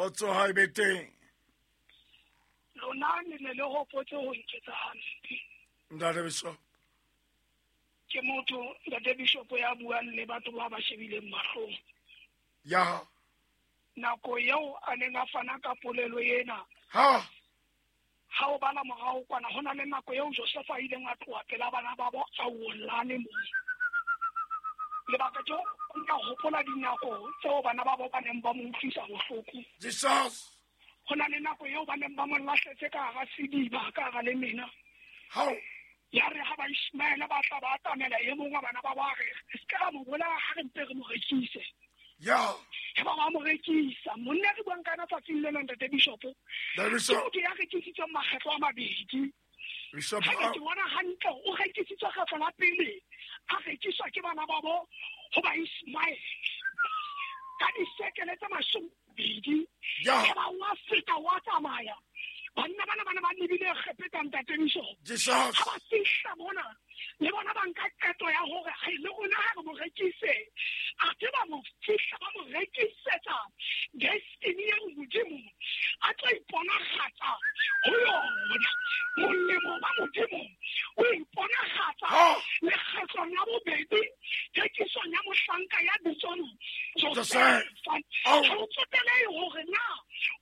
Kgotso ha e be teng. Lona le ne le hopotse ho nketsa hampe. Ntate Bishop. Ke motho Ntate Bishop ya buang le batho ba ba shebileng mahlong. Ya. Nako eo a neng a fana ka polelo ena. Ha. Ha o bala morao kwana ho na le nako eo Joseph a ileng a tloha pela bana ba bo a wolane moo. Lebaka ke nka hopola dinako tseo bana ba bo ba neng ba mo utlwisa bohloko. Jesus. Ho na le nako eo ba neng ba mo lahletse ka hara sediba, ka hara lemena. How? Ya re ha ba Ishmaele ba tla ba atamela e mong wa bana ba ba re, se ka ra mo bolaya ha re mpe re mo rekise. Ya. He ba ba mo rekisa. Monna re buang ka yena tsatsing lena, Ntate Bishop. Ntate Bishop. Ke motho ya rekisitsweng makgetlo a mabedi. Bishop, Ha ke bona hantle, o rekisitswe kgetlo la pele, a rekiswa ke bana ba bo ho ba Ishmaele. Ka disekele tse 20. Ya. He ba wa feta wa tsamaya. Banna bana ba ne ba lebile Egepeta, Ntate Bishop. Jesus. Ha ba fihla mona, le bona ba nka qeto ya hore, hai, le rona ha re mo rekise. A ke ba mo fihla, ba mo rekisetsa destiny eo Modimo a tlo iponagatsa ho yona. Molemo wa Modimo o iponagatsa Ha. lekgetlong la bobedi thekisong ya mohlanka ya bitswang Joseph. Joseph. Au. Ha o tsotelehe hore na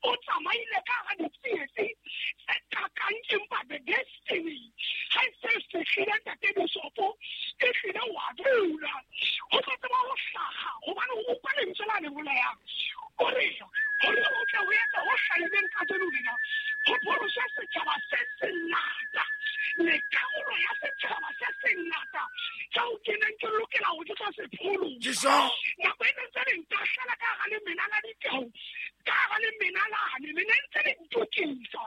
o tsamaile ka hara ditsietsi tse kakang, empa the destiny ha e se fihlile, Ntate Bishop, e hlile wa dula. Ho tlo tseba ho hlaha, hobane o utlwa lentswe la le bolayang. O re, hore o tle ho etse ho hlahileng kajeno lena, ho pholoswe setjhaba se sengata. Le karolo ya setjhaba se sengata tseo ke neng ke lokela hore ke tlo se pholosa. Jesus. Nako e ne ntse le ntahlela ka hara lemena la ditau, ka hara lemena lane, le ne ntse le ntokisa.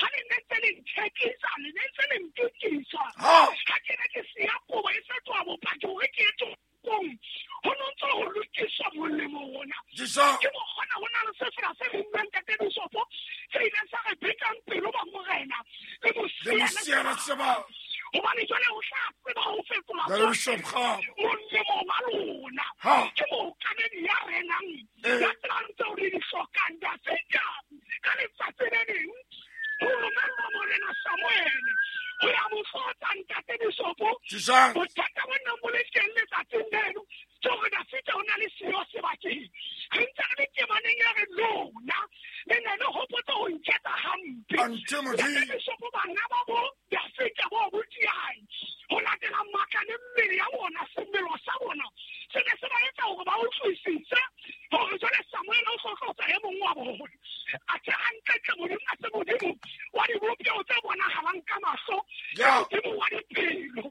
Ha le ne ntse le nthekisa, le ne ntse le ntokisa. Ha. Ha ke ne ke siya kobo e fetoha bopaki hore ke ye toropong, ho no ntso ho lokiswa molemo ona. Jesus. Ke mo kgona ho na le sefela se rinngweng, Ntate Bishop, se ileng sa re betang pelo ba morena le Le mosiana mosiana sebaka. sebaka. Hobane jwale o tla tseba ho fetola Ntate Bishop, ha. molemo wa lona. Ha. Ke mookamedi ya renang, Eh. ya tsebang tseo le di hlokang. Dafida, ka letsatsi le leng, ho romellwa morena Samuele ho ya mo tlotsa, Ntate Bishop. Jesus. Bothata bo neng bo le teng letsatsing leno ke hore Dafida o na le siyo sebakeng. Re ntse re le temaneng ya re lona le ne le hopotse ho nketsa hampe. Ante Modimo. Ntate Bishop, bana ba bo Dafida bo botiae ho latela matla le mmele ya bona, semelo sa bona se ne se ba etsa hore ba utlwisise hore jwale Samuele o tlo tlotsa e mong wa bona. Athe hantlentle Modimo a se Modimo wa dibopeho tse bonahalang ka mahlo, Ya. Modimo wa dipelo.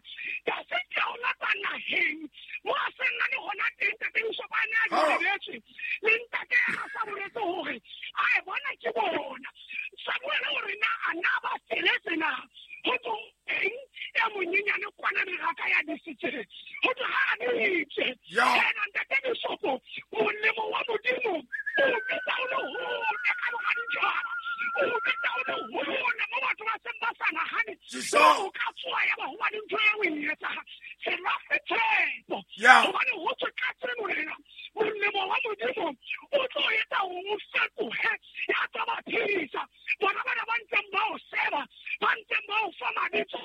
Dafida o lata naheng mo a seng a le hona teng, Ntate Bishop, a ne a Ha. lebeletswe le ntate a sa boletse hore a e bona ke bona. Samuele o re na a na ba feletse na? Ho tswa eng e monyenyane kwana meraka ya disitseng? Ho tswa ha a ditse. Ya. Yena Ntate Bishop, molemo wa Modimo o bitsa o le hole ka mora ditjhaba. O bitsa o le hole mo batho ba seng ba sa nahane. Jesus. O ka tsoha ya ba ho ba le ntho eo o e etsang. Se lahle tshepo. Ya. Hobane ho tswe ka tseno lena, molemo wa Modimo o tlo etsa hore o fetohe, ya tlo ba phedisa. Bona bana ba ntseng ba o seba, ba ntseng ba o fa mabitso,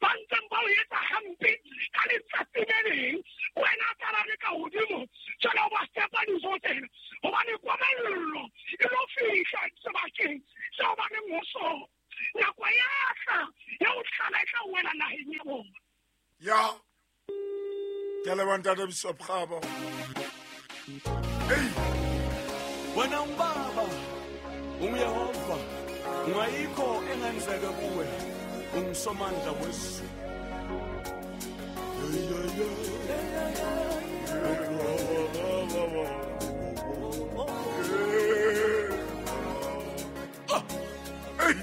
ba ntseng ba o etsa hampe ka letsatsi le leng, wena a tla ba le ka hodimo, jwale o ba fepa dijo tsena. Hobane komello e lo fihla sebakeng seo ba leng ho sona. Nako ya tla, ya ho tlala e tla wela naheng ya bona. Ya. Ke a leboha, Ntate Bishop Kgabo. Ei. Wena ungubaba, unguYehova, ungayikho engenzeka kuwe, ungusomandla wezulu. Hey, hey, hey.